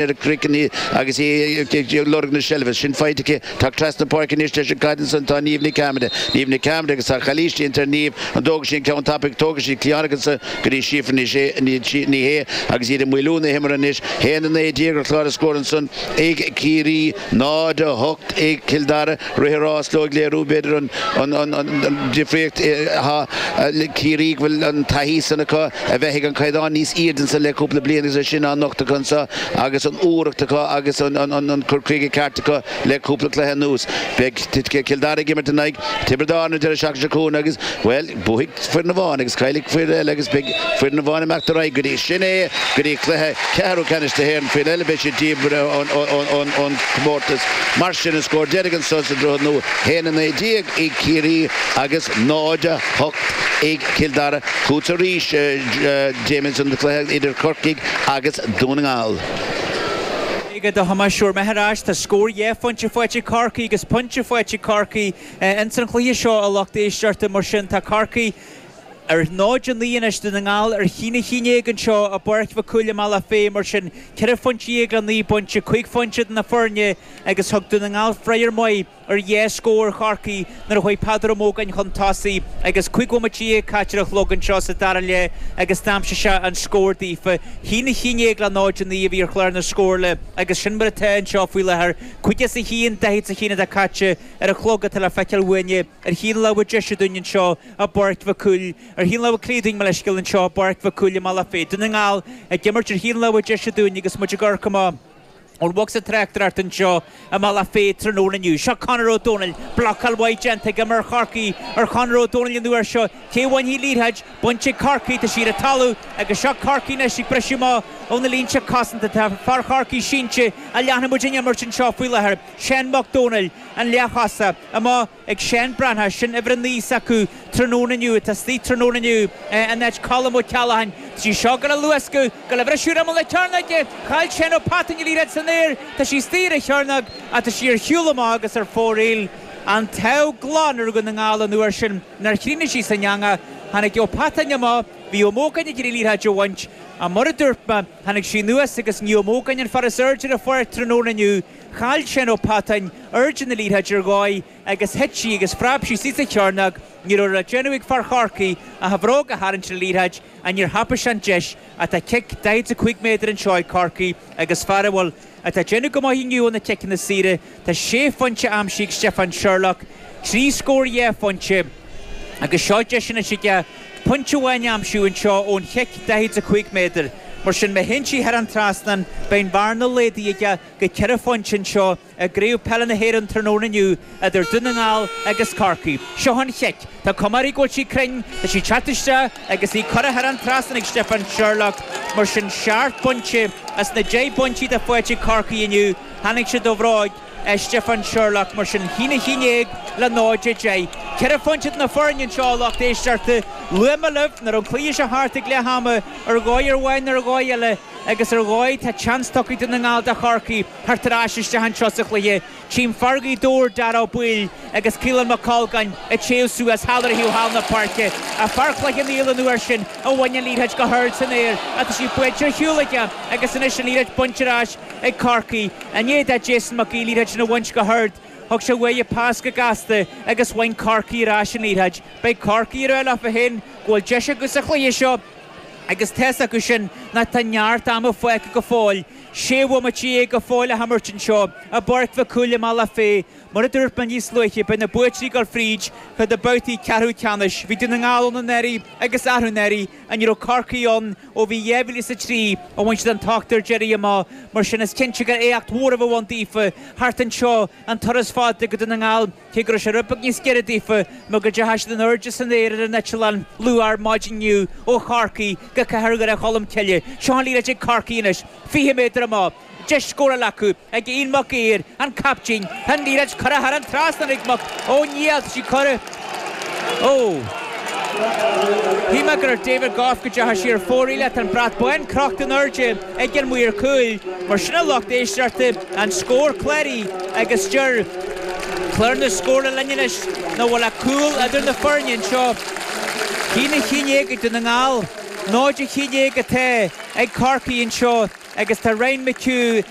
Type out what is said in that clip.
Ar a craiceann í agus í ag lorg na seilbhe. Sin faighte aici. Teacht trasna páirce anois leis an gcaid ansan tá Niamh Nic Eamada. Niamh Nic Eamada agus tá calaois déanta ar Niamh. An dtógfaidh sí an ceann tapaidh? Tógfaidh sí. Cliatháin ansan go dtí Síofra Ní Ní Shé agus iad ag maolú na himeartha anois. 1-19 ar chlár na scór ansan ag Ciarraí, 0-8 ag Cill Dara. Rith an rás leo ag léiriú b'fhéidir an difríocht atá le Ciarraí go bhfuil an taithí san acu a bheith ag an caighdeán níos airde ansan le cúpla bliain agus é sin á nochtadh acu anso agus an úireacht acu agus an cur chuige ceart acu le cúpla cluiche anuas. Beidh Cill Dara ag imirt in aghaidh Tiobraid Árann an deireadh seachtaine seo chugainn agus, bhuel, buafaidh foireann amháin agus caillfidh foireann eile agus beidh foireann amháin ag imeacht ar aghaidh go dtí, sin é, go dtí cluiche ceathrú ceannais na hÉireann. Foireann eile beidh siad díbeartha ón chomórtas. Mar sin, an scór deiridh anso sa Droichead Nua, 1-19 ag Ciarraí agus 0-8 ag Cill Dara. Chugatsa arís, Damien, an cluiche idir Corcaigh agus Dún na nGall. Ag a Thomáis, sure mé ar ais, tá scór dhá phointe faighte ag Corcaigh agus pointe faighte ag Corcaigh. Ins an chluiche seo, a lucht éisteachta, mar sin, tá Corcaigh ar 0-9 anois, Dún na nGall ar 1-11 anseo i bPáirc Mhic Cumhaill i mBealach Féich, mar sin, ceithre phointe le naoi bpointe, cúig phointe idir na foirne agus thug Dún na nGall freagra maith ar dhá scór Chorcaí nuair a chuaigh Peadar Ó Mógáin chun tosaigh agus 15 bhomaite caite ar an chlog anseo sa dara leath agus d'aimsigh sé an scór daofa. 1-11 le 0-9 a bhí ar chlár na scórála agus sin mar atá anseo faoi láthair. 51, 41 atá caite ar an chlog atá le feiceáil uainne ar thaobh na láimhe deise dúinn anseo i bPáirc Mhic Cumhaill, ar thaobh na láimhe clí dúinn, mo leithscéal, anseo i bPáirc Mhic Cumhaill i mBealach Féich. Dún na nGall ag imirt ar thaobh na láimhe deise dúinn agus muid ag amharc amach ón bhocsa tráchtaireachta anseo i mBealach Féich tráthnóna inniu. Seo Conor Ó Domhnaill, blocáil mhaith déanta ag imreoir Chorcaí ar Chonor Ó Domhnaill an uair seo. Cé a bhainfidh an liathróid? Bainte ag Corcaigh, tá sí ar an talamh agus seo Corcaigh anois ag briseadh amach ó na línte cosanta. Tá fear Chorcaí sínte ach leanfaidh muid an imirt anseo faoi láthair. Seán Mac Dónaill, an leathchosa, amach ag Seán Breathnach, sin uimhir 9 s'acu tráthnóna inniu, atá istigh tráthnóna inniu in áit Colm Ó Ceallacháin. Tá sí seo ag dul a luascadh, ag dul a bhriseadh ar imeall na cearnóige, chaill Seán Ó Peatáin an liathróid san aer, tá sí istigh ar an chearnóg ach tá sí ar shiúl amach agus ar fóraoil. An t-ádh glan ar Dhún na nGall an uair sin nár chríochnaigh sí san eangach. Tháinig Ó Peatáin amach, bhí Ó Mógáin ag iarraidh liathróid a bhaint ach mar a dúirt mé, tháinig sí anuas agus ní Ó Mógáin an fear is airde ar an pháirc tráthnóna inniu. Chaill Seán Ó Peatáin airde na liathróide ar dhóigh agus thit sí agus phreab sí suas sa chearnóg. Ní raibh le déanamh ag fear Chorcaí ach a bhróg a tharraingt ar an liathróid ach níor thapaigh sé an deis ach tá cic 45 méadar anseo ag Corcaigh agus fear a bhfuil atá ag déanamh go maith inniu ó na ciceanna saora. Tá sé phointe aimsithe ag Stiofán Sherlock, trí scór dhá phointe agus seo deis anois aige pointe amháin a aimsiú anseo ón chic 45 méadar. Mar sin má théann sí thar an trasnán beidh an bhearna laghdaithe aige go ceithre phointe anseo i gCraobh Peile na hÉireann tráthnóna inniu idir Dún na nGall agus Corcaigh. Seo an chic. Tá cuma uirthi go bhfuil sí cruinn. Tá sí ag teacht isteach agus í curtha thar an trasnán ag Stiofán Sherlock. Mar sin seacht bpointe as na 10 bpointí atá faighte ag Corcaigh inniu, tháinig siad ó bhróig Stiofán Sherlock. Mar sin 1-11 le 0-10. Ceithre phointe idir na foirne anseo a lucht éisteachta. Luaigh mé libh nach raibh an cluiche seo thart ag leath ama ar dhóigh amháin nó ar dhóigh eile. Agus ar dhóigh tá seans tugtha ag Dún na nGall do Chorcaigh theacht ar ais isteach anseo sa chluiche. Tchím fear Ghaoth Dobhair, Darragh Ó Baoill agus Caolán Mac Colgáin ag téamh suas thall ar thaobh thall na páirce. Ach fear Chloich Cheann Fhaola an uair sin a bhain an liathróid go hard san aer ach tá sí buailte ar shiúl aige agus anois an liathróid bainte ar ais ag Corcaigh. I ndiaidh do Jason Mac Aoidh liathróid sin a bhaint go hard, thug sé uaidh pas go gasta agus bhain Corcaigh ar ais an liathróid. Beidh Corcaigh ag rá leofa féin go bhfuil deis acu sa chluiche seo. Agus tá's acu sin nach tá neart ama fágtha go fóill, 16 bhomaite go fóill le himirt anseo i bPáirc Mhic Cumhaill i mBealach Féich. Mar a dúirt mé níos luaithe, beidh na buaiteoirí ag dul fríd chuig na babhtaí ceathrú ceannais. Bhí Dún na nGall ann anuraidh agus arú anuraidh ach ní raibh Corcaigh ann ó bhí 2003 a bhain siad an t-ochtar deiridh amach. Mar sin is cinnte gur éacht mhór a bheadh ann daofa theacht anseo an turas fada go Dún na nGall. Cé go raibh sé rud beag níos giorra daofa mar go dteachaigh siad in airde san aer ar an eitleán luath ar maidin inniu ó Chorcaigh go Cathair Dhoire Cholm Cille. Seo an liathróid ag Corcaigh anois, 20 méadar amach. Deis scórála acu ag Ian Mac Uidhir, an captaen. Tá an liathróid curtha thar an trasnán ag Mac Ó níl, tá sí curtha. Ó! Shíl mé gur ar David Gough go dteachaigh sí ar fóraoil ach tá an brat bán crochta in airde ag an maor cúil. Mar sin a lucht éisteachta, an scór cláraithe agus deir clár na scórála linn anois nach bhfuil ach cúl idir na foirne anseo. 1-11 ag Dún na nGall, 0-11 atá ag Corcaigh anseo. agus tá Ryan McHugh.